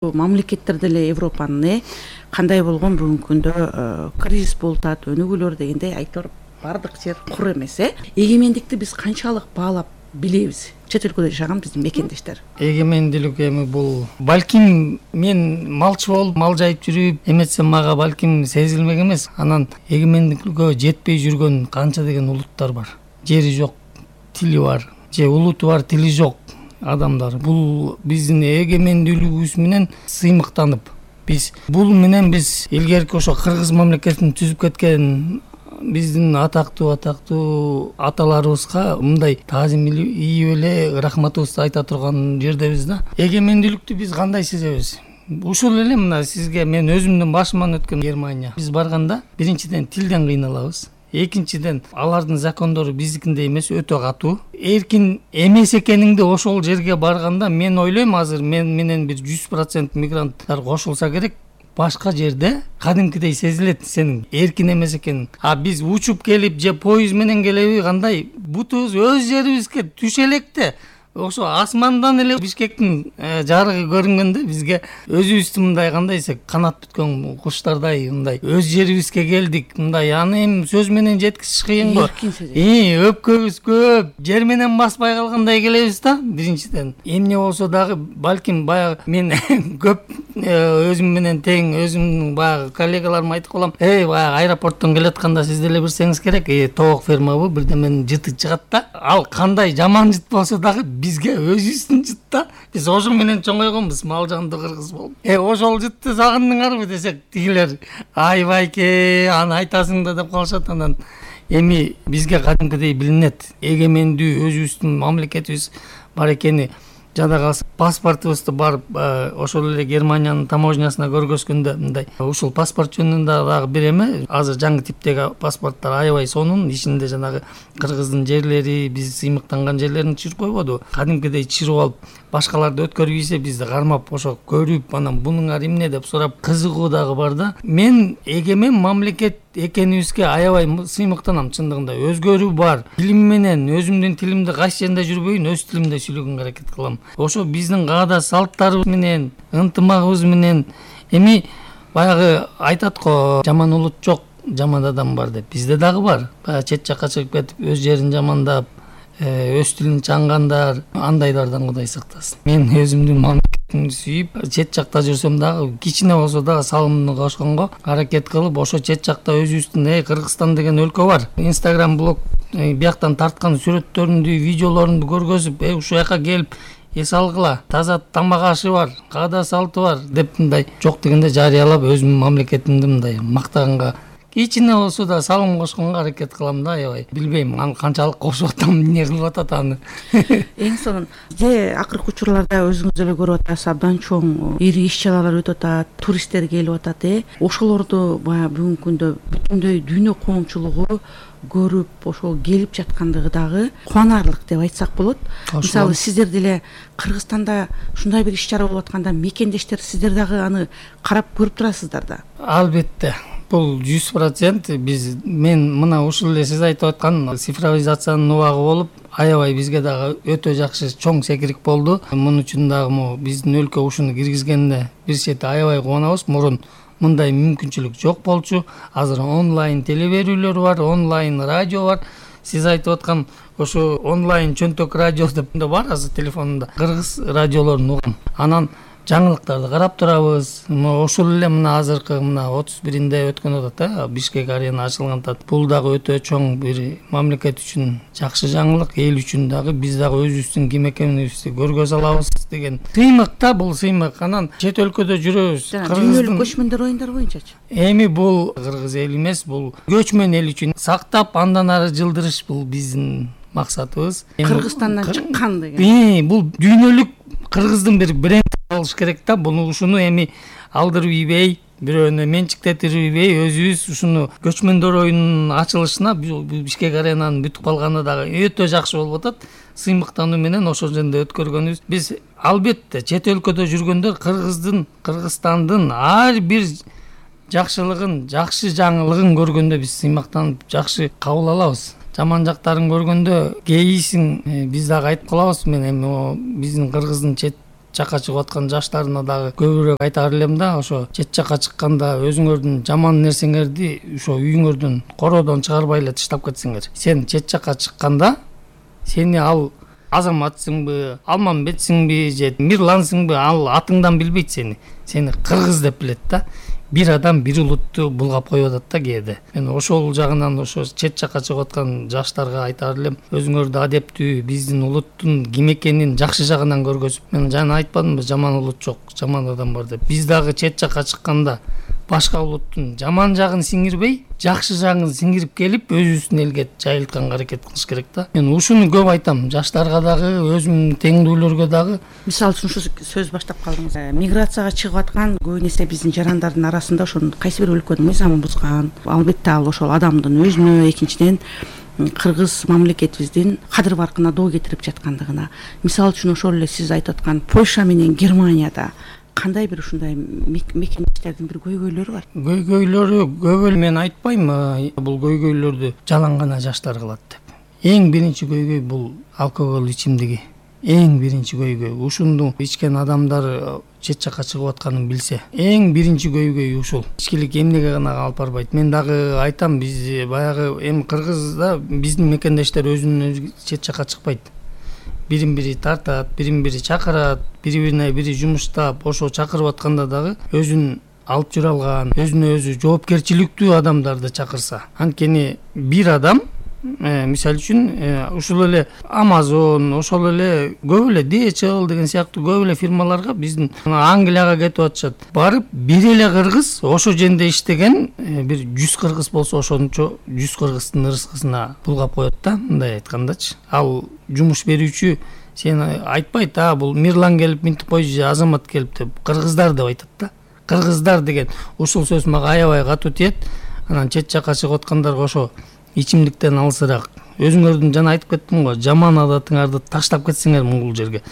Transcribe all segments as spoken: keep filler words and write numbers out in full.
Мамлекеттер деле Европанын э кандай болгон бүгүнкү күндө кризис болуп атат, өнүгүүлөр дегендей айтор бардык жер кур эмес э. Эгемендикти биз канчалык баалап билебиз? Чет өлкөдө жашаган биздин мекендештер. Эгемендүүлүк эми бул балким мен малчы болуп мал жайып жүрүп эметсем мага балким сезилмек эмес. Анан эгемендикке жетпей жүргөн канча деген улуттар бар. Жери жок, тили бар, же улуту бар, тили жок адамдар. Бул биздин эгемендүүлүгүбүз менен сыймыктанып, биз бул менен биз илгерки ошо кыргыз мамлекетин түзүп кеткен биздин атактуу атактуу аталарыбызга мындай таазим ийип эле рахматыбызды айта турган жердебиз да. Эгемендүүлүктү биз кандай сезебиз? Ушул эле мына сизге мен өзүмдүн башыман өткөн Германия. Биз барганда биринчиден тилден кыйналабыз. Экинчиден алардын закондору биздикиндей эмес, өтө катуу. Эркин эмес экениңди ошол жерге барганда мен ойлойм, азыр мен менен бир жүз процент мигранттар кошулса керек, башка жерде кадимкидей сезилет сенин эркин эмес экениң. А биз учуп келип же поезд менен келеби, кандай бутубуз өз жерибизге түшө электе. Ошо асмандан эле Бишкектин жарыгы көрүнгөндө бизге өзүбүздү мындай кандай десек канат бүткөн куштардай мындай өз жерибизге келдик. Мындай аны эми сөз менен жеткизиш кыйын го. И өпкөбүз көп, жер менен баспай калгандай келебиз да. Биринчиден эмне болсо дагы балким баягы мен көп өзүм менен тең өзүмдүн баягы коллегаларыма айтып калам. Эй, баягы аэропорттон келатканда сиз деле билсеңиз керек, э тоок фермабы бирдеменин жыты чыгат да. Ал кандай жаман жыт болсо дагы бизге өзүбүздүн жыт да. Биз ошо менен чоңойгонбуз, мал жанды кыргыз болуп. Э ошол жытты сагындыңарбы десек, тигилер айбайке аны айтасың да деп калышат. Анан эми бизге кадимкидей билинет, эгемендүү өзүбүздүн мамлекетибиз бар экени. Жада паспортубузду барып ошол эле Германиянын таможнясына көргөзгөндө мындай ушул паспорт жөнүндө дагы бир эме, азыр жаңы типтеги паспорттор аябай сонун, ичинде жанагы кыргыздын жерлери, биз сыймыктанган жерлерин чырып койбоду. Кадимкидей чырып алып башкаларды өткөрбөйсө бизди кармап ошо көрүп анан бунуңар эмне деп сурап кызыгуу дагы бар да. Мен эгемен мамлекет экенибизге аябай сыймыктанам чындыгында. Өзгөрүү бар. Тилим менен өзүмдүн тилимди кайсы жерде жүрбөйүн, өз тилимде сүйлөгөнгө аракет кылам. Ошо биздин каада салттарыбыз менен, ынтымагыбыз менен эми баягы айтат го, жаман улут жок, жаман адам бар деп. Бизде дагы бар. Баягы чет жакка чыгып кетип өз жерин жамандап, өз тилин чаңгандар, андайлардан Кудай сактасын. Мен өзүмдүн мамлекетимди сүйүп, чет жакта жүрсөм дагы кичине болсо дагы салымымды кошконго аракет кылып, ошо чет жакта өзүбүздүн э Кыргызстан деген өлкө бар. Instagram блог бияктан тарткан сүрөттөрүндү, видеолорунду көргөзүп, э ушул жака келип эс алгыла, таза тамак ашы бар, каада салты бар деп мындай жок дегенде жарыялап өзүмдүн мамлекетимди мындай мактаганга кичине болсо да салым кошконго аракет кылам да. Аябай билбейм аны канчалык кошуп атам, эмне кылып атат аны. Эң сонун же акыркы учурларда өзүңүз деле көрүп атасыз, абдан чоң ири иш чаралар өтүп атат, туристтер келип атат э. Ошолорду баягы бүгүнкү күндө бүтүндөй дүйнө коомчулугу көрүп, ошол келип жаткандыгы дагы кубанарлык деп айтсак болот. Мисалы сиздер деле Кыргызстанда ушундай бир иш чара болуп атканда мекендештер сиздер дагы аны карап көрүп турасыздар да. Албетте. Бул жүз процент биз мен мына ушул эле сиз айтып аткан цифровизациянын убагы болуп, аябай бизге дагы өтө жакшы чоң секирик болду. Муну үчүн дагы могу биздин өлкө ушуну киргизгенине бир чети аябай кубанабыз. Мурун мындай мүмкүнчүлүк жок болчу. Азыр онлайн телеберүүлөр бар, онлайн радио бар. Сиз айтып аткан ошо онлайн чөнтөк радио деп бар азыр телефонунда. Кыргыз радиолорун угам. Анан жаңылыктарды карап турабыз. Ошол эле мына азыркы мына отуз биринде өткөн атат, э, Бишкек арена ачылган атат. Бул дагы өтө чоң бир мамлекет үчүн жакшы жаңылык, эл үчүн дагы биз дагы өзүбүздүн ким экенибизди көргөзө алабыз деген сыймык да, бул сыймык. Анан чет өлкөдө жүрөбүз. Дүйнөлүк көчмөндөр оюндар боюнчачы. Эми бул кыргыз эл эмес, бул көчмөн эл үчүн сактап андан ары жылдырыш бул биздин максатыбыз. Кыргызстандан чыккан деген. Э, бул дүйнөлүк кыргыздын бир бренд алыш керек да. Буну ушуну эми алдырып ийбей, бирөөнө менчиктетип ийбей, өзүбүз ушуну көчмөндөр оюнунун ачылышына Бишкек аренанын бүтүп калганы дагы өтө жакшы болуп атат. Сыймыктануу менен ошол жерде өткөргөнүбүз. Биз албетте чет өлкөдө жүргөндөр Кыргыздын, Кыргызстандын ар бир жакшылыгын, жакшы жаңылыгын көргөндө биз сыймыктанып жакшы кабыл алабыз. Жаман жактарын көргөндө кейисиң биз дагы айтып калабыз. Мен эми биздин Кыргыздын чет жакка чыгып аткан жаштарына дагы көбүрөөк айтаар элем да, ошо чет жакка чыкканда өзүңөрдүн жаман нерсеңерди ошо үйүңөрдүн короодон чыгарбай эле таштап кетсеңер. Сен чет жакка чыкканда сени ал Азаматсыңбы, Алмамбетсиңби же Мирлансыңбы, ал атыңдан билбейт сени. Сени кыргыз деп билет да. Бир адам бир улутту булгап коюп атат да кээде. Мен ошол жагынан ошо чет жакка чыгып аткан жаштарга айтаар элем, өзүңөрдү адептүү, биздин улуттун ким экенин жакшы жагынан көргөзүп, мен жана айтпадымбы, жаман улут жок, жаман адам бар деп. Биз дагы чет жакка чыкканда башка улуттун жаман жагын сиңирбей, жакшы жагын сиңирип келип, өзүбүздүн элге жайылтканга аракет кылыш керек да. Мен ушуну көп айтам, жаштарга дагы, өзүмдүн теңдүүлөргө дагы. Мисалы үчүн ушу сөз баштап калдыңыз. Миграцияга чыгып аткан көбүн эсе биздин жарандардын арасында ошо кайсы бир өлкөнүн мыйзамын бузган, албетте ал ошол адамдын өзүнө, экинчиден кыргыз мамлекетибиздин кадыр баркына доо кетирип жаткандыгына. Мисалы үчүн ошол эле сиз айтып аткан Польша менен Германияда кандай бир ушундай мекемештердин бир көйгөйлөрү бар? Көйгөйлөрү көп эле, мен айтпайм, бул көйгөйлөрдү жалаң гана жаштар кылат деп. Эң биринчи көйгөй бул алкоголь ичимдиги. Эң биринчи көйгөй. Ушуну ичкен адамдар чет жакка чыгып атканын билсе, эң биринчи көйгөй ушул. Ичкилик эмнеге гана алып барбайт? Мен дагы айтам, биз баягы эми Кыргызда биздин мекендештер өзүнөн өзү чет жакка чыкпайт. Бирин бири тартат, бирин бири чакырат, бири-бирине бири жумуштап, ошо чакырып атканда дагы өзүн алып жүрө алган, өзүнө өзү жоопкерчиликтүү адамдарды чакырса. Анткени бир адам, мисалы үчүн, ушул эле Amazon, ошол эле көп эле ди эйч эл деген сыяктуу көп эле фирмаларга биздин Англияга кетип атышат. Барып бир эле кыргыз ошо жерде иштеген, бир жүз кыргыз болсо ошончо жүз кыргыздын ырыскысына булгап коет да, мындай айткандачы. Ал жумуш берүүчү сен айтпайт, а бул Мирлан келип минтип койчу же Азамат келип деп, кыргыздар деп айтат да. Кыргыздар деген ушул сөз мага аябай катуу тиет. Анан чет жакка чыгып аткандарга ошо ичимдиктен алысыраак, өзүңөрдүн жана айтып кеттим го, жаман адатыңарды таштап кетсеңер бул жерге.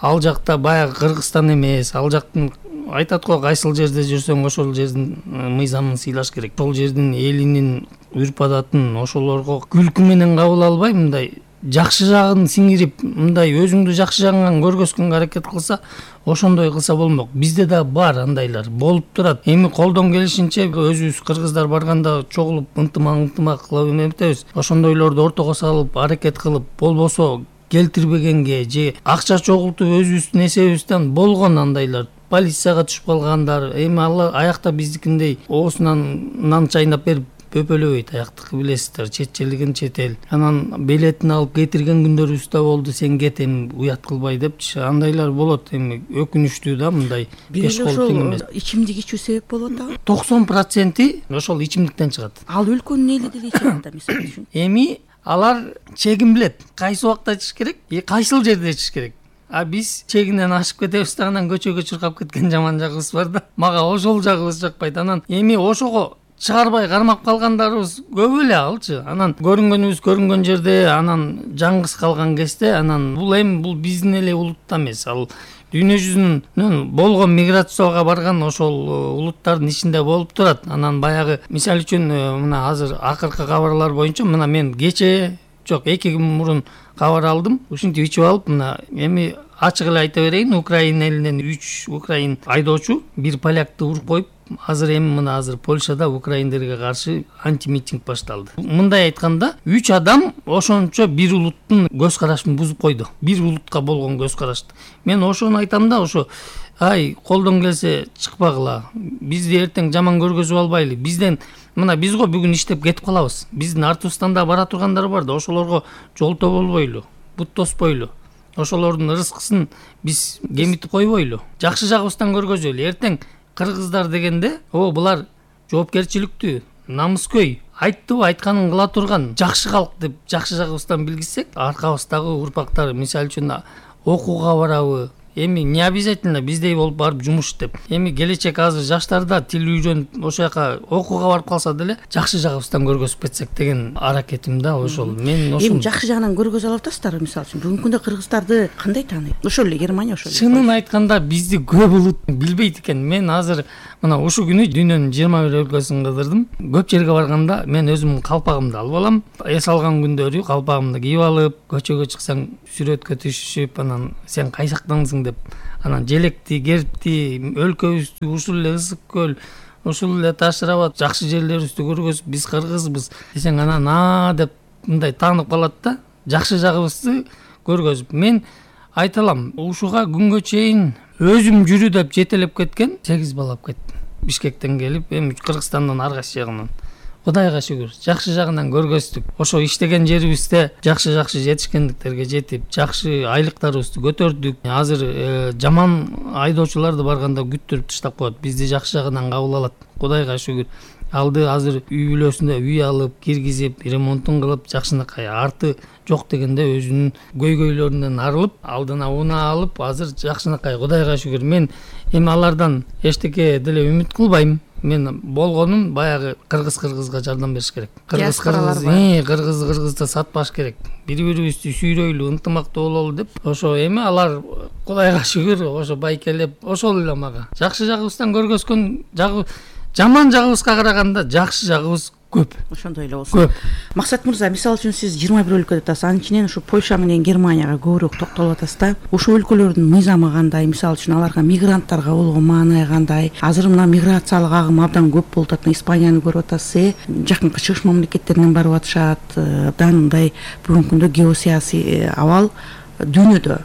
Ал жакта баягы Кыргызстан эмес, ал жактын айтат го, кайсыл жерде жүрсөң ошол жердин мыйзамын сыйлаш керек. Ошол жердин элинин үрп адатын ошолорго күлкү менен кабыл албай, мындай жакшы жагын сиңирип, мындай өзүңдү жакшы жагынан көргөзгөнгө аракет кылса, ошондой кылса болмок. Бизде да бар андайлар, болуп турат. Эми колдон келишинче өзүбүз кыргыздар барганда чогулуп ынтымак-ынтымак кылып эметебиз. Ошондойлорду ортого салып, аракет кылып, болбосо келтирбегенге же акча чогултуп өзүбүздүн эсебибизден болгон андайлар. Полицияга түшүп калгандар, эми ал аякта биздикиндей оосунан нан чайнап берип пөпөлөбөйт, аяктыкы билесиздер, четчелигин четел. Анан билетин алып кетирген күндөрүбүз да болду, сен кет эми уят кылбай депчи. Андайлар болот, эми өкүнүчтүү да, мындай беш кол тең эмес. Ичимдик ичүү себеп болот да? токсон проценти ошол ичимдиктен чыгат. Ал өлкөнүн эли деле ичет да, мисалы үчүн. Эми алар чегин билет, кайсы убакта ичиш керек, кайсыл жерде ичиш керек. А биз чегинен ашып кетебиз да, анан көчөгө чуркап кеткен жаман жагыбыз бар да. Мага ошол жагыбыз жакпайт. Анан эми ошого чыгарбай кармап калгандарыбыз көп эле алчы. Анан көрүнгөнүбүз көрүнгөн жерде, анан жаңгыз калган кезде, анан бул эми бул биздин эле улутта эмес, ал дүйнө жүзүнөн болгон миграцияга барган ошол улуттардын ичинде болуп турат. Анан баягы мисалы үчүн мына азыр акыркы кабарлар боюнча, мына мен кече жок эки күн мурун кабар алдым. Ушинтип ичип алып, мына эми ачык эле айта берейин, Украина элинен үч украин айдоочу бир полякты уруп коюп, азыр эми мына азыр Польшада украиндерге каршы антимитинг башталды. Мындай айтканда, үч адам ошончо бир улуттун көз карашын бузуп койду. Бир улутка болгон көз карашты. Мен ошону айтам да, ошо ай колдон келсе чыкпагыла. Бизди эртең жаман көргөзүп албайлы. Бизден мына биз го бүгүн иштеп кетип калабыз. Биздин артыбыздан да бара тургандар бар да, ошолорго жолто болбойлу, бут тоспойлу. Ошолордун ырыскысын биз кемитип койбойлу. Жакшы жагыбыздан көргөзөлү. Эртең кыргыздар дегенде, о булар жоопкерчиликтүү, намыскөй, айттыбы айтканын кыла турган жакшы калк деп жакшы жагыбыздан билгизсек, аркабыздагы урпактар мисалы үчүн окууга барабы, эми не обязательно биздей болуп барып жумуш иштеп. Эми келечек азыр жаштарда тил үйрөнүп ошол жака окууга барып калса деле жакшы жагыбыздан көргөзүп кетсек деген аракетим да ошол. Мен ошол эми жакшы жагынан көргөзө алып атасыздар, мисалы үчүн бүгүнкү күндө кыргыздарды кандай тааныйт? Ошол эле Германия ошол эле. Чынын айтканда бизди көп улут билбейт экен. Мен азыр мына ушул күнү дүйнөнүн жыйырма бир өлкөсүн кыдырдым. Көп жерге барганда мен өзүмдүн калпагымды алып алам. Эс алган күндөрү калпагымды кийип алып, көчөгө чыксаң сүрөткө түшүшүп, анан сен кайсактансың калдың деп. Анан желекти, гербти, өлкөбүздү ушул эле ысык көл, ушул эле Таш Рабат жакшы жерлерибизди көргөзүп, биз кыргызбыз десең, анан а деп мындай таанып калат да, жакшы жагыбызды көргөзүп. Мен айта алам, ушуга күнгө чейин өзүм жүрү деп жетелеп кеткен сегиз бала алып кеттим. Бишкектен келип, эми Кыргызстандын ар кайсы жагынан. Кудайга шүгүр, жакшы жагынан көргөздүк. Ошо иштеген жерибизде жакшы-жакшы жетишкендиктерге жетип, жакшы айлыктарыбызды көтөрдүк. Азыр жаман айдоочуларды барганда күттүрүп таштап коет. Бизди жакшы жагынан кабыл алат. Кудайга шүгүр. Алды азыр үй бүлөсүндө үй алып, киргизип, ремонтун кылып, жакшынакай. Арты жок дегенде өзүнүн көйгөйлөрүнөн арылып, алдына унаа алып, азыр жакшынакай. Кудайга шүгүр. Мен эми алардан эчтеке деле үмүт кылбайм. Мен болгонум баягы кыргыз кыргызга жардам бериш керек. Кыргыз кыргыз, кыргыз кыргызды сатпаш керек. Бири-бирибизди сүйрөйлү, ынтымактуу бололу деп. Ошо эми алар Кудайга шүгүр, ошо байкелеп, ошол эле мага. Жакшы жагыбыздан көргөзгөн жагы, жаман жагыбызга караганда жакшы жагыбыз көп. Ошондой эле болсун. Көп. Максат мырза, мисалы үчүн сиз жыйырма бир өлкөдө атасыз. Анын ичинен ушу Польша менен Германияга көбүрөөк токтолуп атасыз да. Ушул өлкөлөрдүн мыйзамы кандай? Мисалы үчүн аларга мигранттарга болгон маанай кандай? Азыр мына миграциялык агым абдан көп болуп атат. Испанияны көрүп атасыз, жакынкы чыгыш мамлекеттеринен барып атышат. Абдан мындай бүгүнкү күндө геосаясий абал дүйнөдө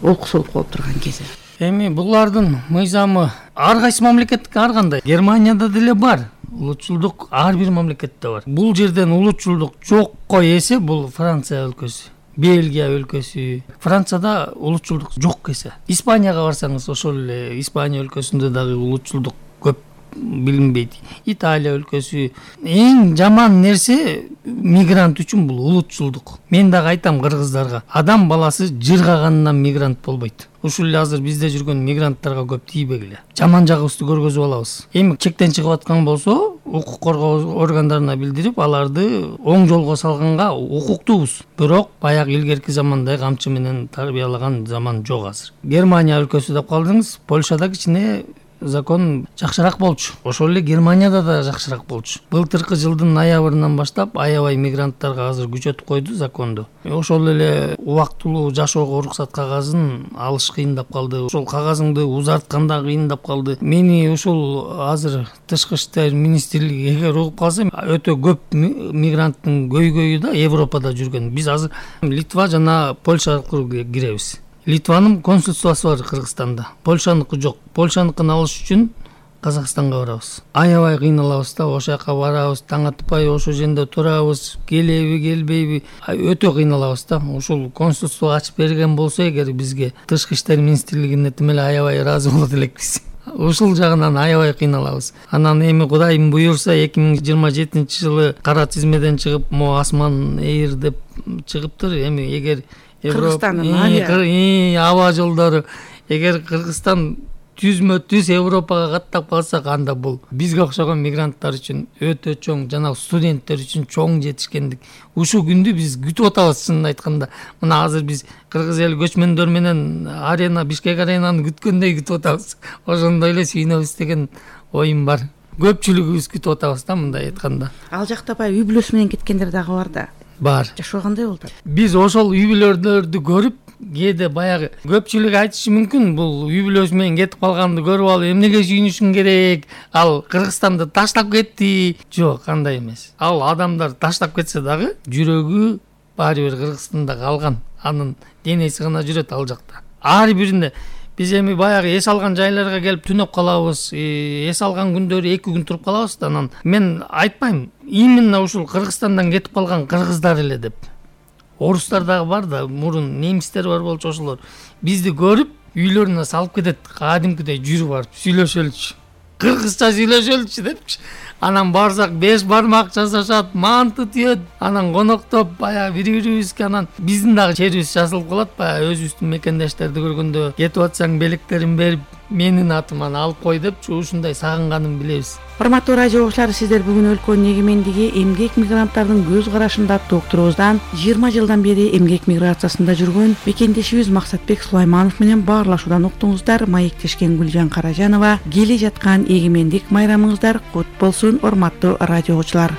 олкусулуп калып турган кези. Эми булардын мыйзамы ар кайсы мамлекеттики ар кандай. Германияда деле бар. Улутчулдук ар бир мамлекетте бар. Бул жерден улутчулдук жокко эсе бул Франция өлкөсү, Бельгия өлкөсү. Францияда улутчулдук жок эсе. Испанияга барсаңыз, ошол эле Испания өлкөсүндө дагы улутчулдук көп билинбейт. Италия өлкөсү. Эң жаман нерсе мигрант үчүн бул улутчулдук. Мен дагы айтам кыргыздарга, адам баласы жыргагандан мигрант болбойт. Ушул эле азыр бизде жүргөн мигранттарга көп тийбегиле. Жаман жагыбызды көргөзүп алабыз. Эми чектен чыгып аткан болсо, укук коргоо органдарына билдирип, аларды оң жолго салганга укуктуубуз. Бирок баягы илгерки замандай камчы менен тарбиялаган заман жок азыр. Германия өлкөсү деп калдыңыз, Польшада кичине закон жакшыраак болчу. Ошол эле Германияда да жакшыраак болчу. Былтыркы жылдын ноябрынан баштап аябай мигранттарга азыр күчөтүп койду законду. Ошол эле убактылуу жашоого уруксат кагазын алыш кыйындап калды. Ошол кагазыңды узартканда кыйындап калды. Мени ушул азыр тышкы иштер министрлиги эгер угуп калса, өтө көп мигранттын көйгөйү да Европада жүргөн. Биз азыр Литва жана Польша аркылуу киребиз. Литванын консульствосу бар Кыргызстанда. Польшаныкы жок. Польшаныкын алыш үчүн Казакстанга барабыз. Аябай кыйналабыз да, ошол жака барабыз, таң атпай ошол жерде турабыз, келеби, келбейби, өтө кыйналабыз да. Ушул консульство ачып берген болсо эгер бизге тышкы иштер министрлигине тим эле аябай ыраазы болот элекпиз. Ушул жагынан аябай кыйналабыз. Анан эми Кудайым буйрса эки миң жыйырма жетинчи жылы кара тизмеден чыгып, мо Асман Эйр деп чыгыптыр. Эми эгер Кыргызстандын аба жолдору эгер Кыргызстан түзмө түз Европага каттап калсак, анда бул бизге окшогон мигранттар үчүн өтө чоң, жана студенттер үчүн чоң жетишкендик. Ушул күндү биз күтүп атабыз, чынын айтканда. Мына азыр биз кыргыз эл көчмөндөр менен арена, Бишкек аренаны күткөндөй күтүп атабыз. Ошондой эле сүйүнөбүз деген оюм бар. Көпчүлүгүбүз күтүп атабыз да, мындай айтканда. Ал жакта баягы үй бүлөсү менен кеткендер дагы бар да. Бар. Жашоо кандай болду? Биз ошол үй бүлөлөрдү көрүп, кээде баягы көпчүлүк айтышы мүмкүн, бул үй бүлөсү менен кетип калганды көрүп алып эмнеге сүйүнүшүң керек? Ал Кыргызстанды таштап кетти. Жок, андай эмес. Ал адамдар таштап кетсе дагы жүрөгү баары бир Кыргызстанда калган. Анын денеси гана жүрөт ал жакта. Ар биринде биз эми баягы эс алган жайларга келип түнөп калабыз, эс алган күндөрү эки күн туруп калабыз да. Анан мен айтпайм, именно ушул Кыргызстандан кетип калган кыргыздар эле деп. Орустар дагы бар да, мурун немистер бар болчу, ошолор бизди көрүп үйлөрүнө салып кетет, кадимкидей жүрүп барып сүйлөшөлүчү. Кыргызча сүйлөшөлүчү депчи. Анан барсак беш бармак жасашат, манты түйөт, анан коноктоп баягы бири-бирибизге, анан биздин дагы черибиз жазылып калат. Баягы өзүбүздүн мекендештерди көргөндө кетип атсаң белектерин берип, менин атыман алып кой депчи, ушундай сагынганын билебиз. Урматтуу радио угуучулар, сиздер бүгүн өлкөнүн эгемендиги, эмгек мигранттардын көз карашында аттуу уктуруубуздан жыйырма жылдан бери эмгек миграциясында жүргөн мекендешибиз Максатбек Сулайманов менен баарлашуудан уктуңуздар. Маектешкен Гүлжан Каражанова. Келе жаткан эгемендик майрамыңыздар кут болсун, урматтуу радио угуучулар.